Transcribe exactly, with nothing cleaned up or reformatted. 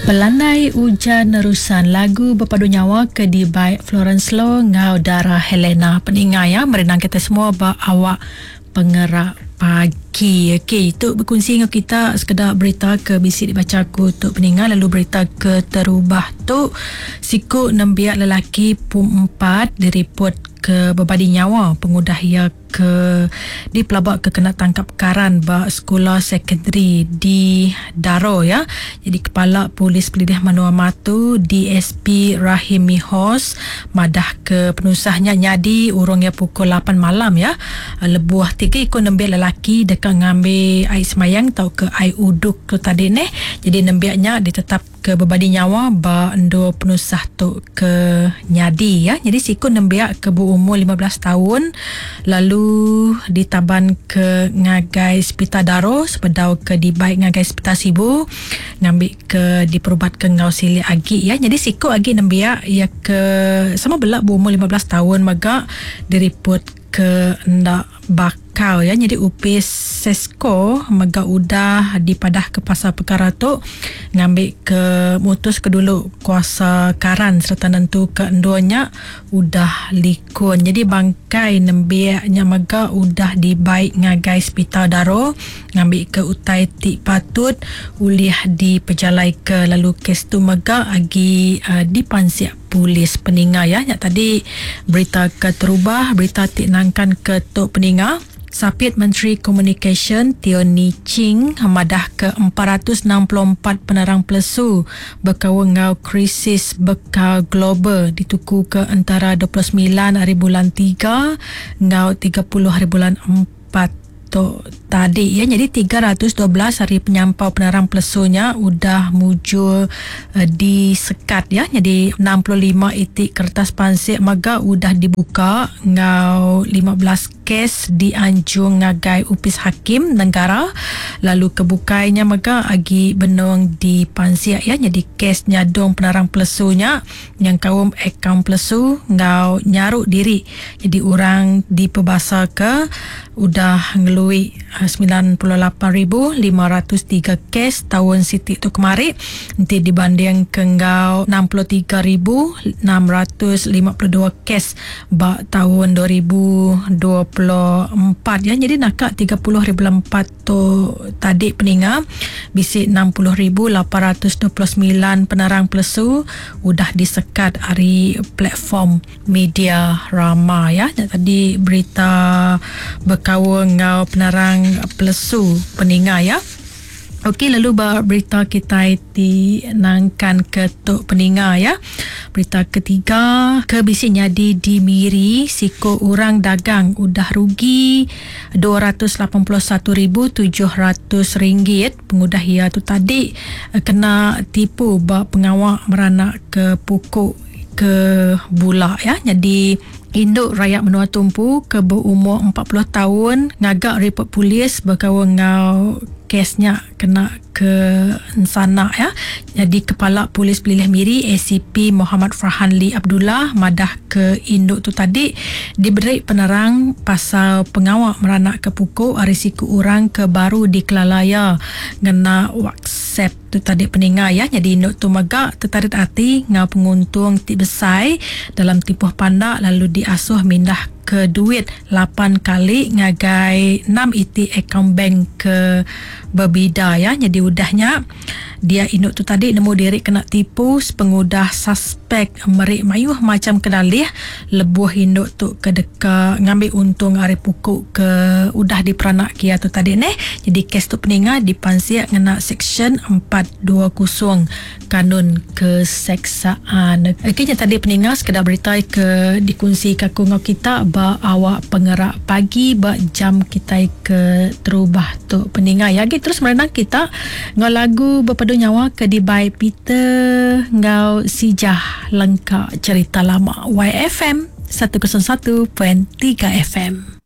Pelandai Ujan Nerusan lagu bepadu nyawa ke dibai Florence Lo ngau Dara Helena peninga ya merenang kita semua ba awak pengerak pagi. Okey, itu berkongsi dengan kita sekedar berita ke bisi dibaca aku tu peninga, lalu berita ke terubah tu siku nembiak lelaki pum empat diripot ke berbadi nyawa pengudah ia ke dipelabak ke kena tangkap karan ba sekolah secondary di Daro ya. Jadi Kepala Polis Pelilih Menua Matu D S P Rahim Mihos madah ke penusahnya nyadi urungnya pukul lapan malam ya. Lebuh tiga ikut nembiak lelaki dekat ngambil air semayang atau ke air uduk tu tadi neh. Jadi nembiaknya ditetap ke berbadi nyawa ba endo penusah tu ke nyadi ya. Jadi siku nembiak ke berumur lima belas tahun lalu ditaban ke ngagai Hospital Daro sepedau ke dibaik ngagai Hospital Sibu ngambil ke diperubat ke ngau silik agi ya. Jadi siku agi nembiak ya ke sama belak berumur lima belas tahun mega diripot ke ndak bakal ya. Jadi upis Sesko mega udah dipadah ke pasal perkara tu ngambil ke mutus ke dulu kuasa karan serta nentu ke enduanya udah likun. Jadi bangkai nembiaknya mega udah dibaik ngagai Hospital Daro ngambil ke utai ti patut ulih dipejalai ke, lalu kes tu mega agi uh, dipansiak polis peninga ya. Nyak tadi berita ke terubah, berita ti nangkan ke tok peninga. Sapit Menteri Komunikasi Teo Nie Ching madah ke empat ratus enam puluh empat penerang pelesu berkawan ngau krisis bekal global dituku ke antara dua puluh sembilan hari bulan tiga ngau tiga puluh hari bulan empat tu tadi ya. Jadi tiga ratus dua belas hari penyampau penerang pelesunya udah mujur uh, disekat ya. Jadi enam puluh lima itik kertas pansik maga udah dibuka ngau lima belas kes dianjung ngagai upis hakim negara, lalu kebukainya mega agi benung di pansiak ya. Jadi kes nyadong penerang pelesunya yang kaum akaun pelesu ngau nyaruk diri. Jadi orang diperbasa ke udah ngelui sembilan puluh lapan ribu lima ratus tiga kes tahun Siti tu kemari, nanti dibanding ke ngau enam puluh tiga ribu enam ratus lima puluh dua kes ba tahun dua ribu dua puluh empat ya. Jadi nakak tiga puluh ribu empat tu tadi peninga bisik enam puluh ribu lapan ratus dua puluh sembilan penerang pelesu udah disekat hari platform media rama ya. Tadi berita berkawan ngau penerang pelesu peninga ya. Okey, lalu berita kita di nangkan ke tok peninga ya. Berita ketiga, kebisi nyadi di Miri, siko orang dagang udah rugi dua ratus lapan puluh satu ribu tujuh ratus ringgit pengudah ia tu tadi kena tipu ba pengawak meranak ke pukuk ke bulak ya. Jadi induk rakyat menua tumpu ke berumur empat puluh tahun ngagak report polis berkawan ngau kesnya kena ke sana ya. Jadi Kepala Polis Pelilih Miri A C P Muhammad Farhan Lee Abdullah madah ke induk tu tadi diberi penerang pasal pengawak meranak ke pukul risiko orang ke baru di Kelalaya ngena WhatsApp tu tadi peninga ya. Jadi induk tu megak tertarik hati ngau penguntung ti besar dalam tempoh pandak lalu diasuh mindah ke duit lapan kali ngagai enam iti akaun bank ke berbida ya. Jadi udahnya dia induk tu tadi nemu diri kena tipu sepengudah suspek merik mayuh macam kedalih lebuh induk tu ke deka ngambil untung ari pukuk ke udah diperanak kia tu tadi neh. Jadi kes tu peninga dipansiak ngena seksyen empat dua kosong Kanun Keseksaan. Okey, tadi peninga sekedar berita ke dikongsi kaku ngau kita ba awak pengerak pagi ba jam kita ke terubah tu peninga ya. Lagi terus merenang kita ngau lagu berpadu nyawa ke dibai Peter ngau Sijah lengkap cerita lama Y F M seratus satu perpuluhan tiga F M.